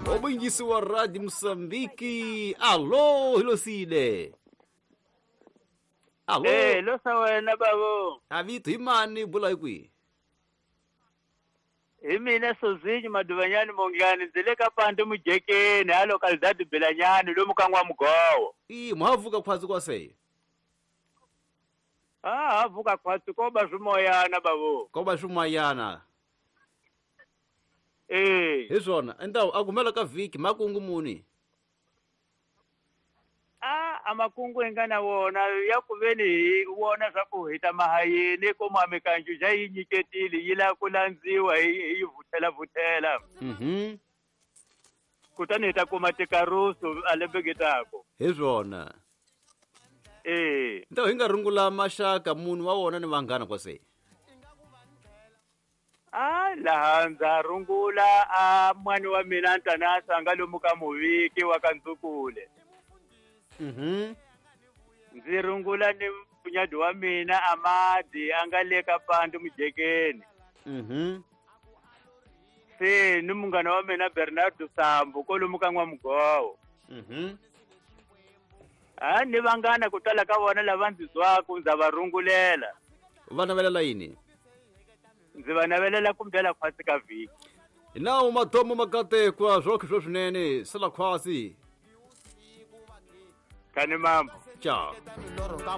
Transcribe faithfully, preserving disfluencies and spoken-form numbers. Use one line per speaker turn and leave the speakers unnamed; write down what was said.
Wabingisi wa Radio Mosambiki. Alô, Hilosile. Alô.
Eh, losa wena babo.
Avito imani bula kwi.
Hi mina Sozinyi Maduvanyani Mongani ndzi le ka Pandu Mujekeni a localidade Bilanyani lomu ka N'wamugowo.
I mhavuka khwatsi kwa sei.
Ah, havuka khwatsi ko ba swimoyana babo.
Ko ba swimoyana.
Eh.
Hi swona, endawu a kumela ka vhiki makungu muni.
Ah, amakungu hi nga na wona ya ku veni hi wona swa ku hi ta mahayeni ko mikanju ja yi nyiketile yi lava ku landziwa hi yi vuthela vuthela.
Mhm.
Kutani hi ta kuma tikarusu a lembeketako.
Hi swona.
Eh.
Ntawu hi nga rungula maxaka munhu wa wona ni vanghana kwa sei.
Ah, laha ndza rungula a mwani wa mina Ntanasa a nga lomu ka Muviki wa ka Ndzukule.
Mhm.
Ndzi rungula ni munyadi wa mina Amadi a nga le ka Pandu Mujekeni.
Mhm.
Se ni munghana wa mina Bernardo Sambo kolomu ka N'wamugowo.
Mhm.
Ah, ni vanghana ku tala ka vona lava ndzi twaku ndza va rungulela.
Va navelela yini?
Ndzi va navelela ku mbela khwatsi ka vhiki.
Hi nawu matomo makatekwa swokhe swo swinene sala khwatsi.
Kani mambo.
Ciao.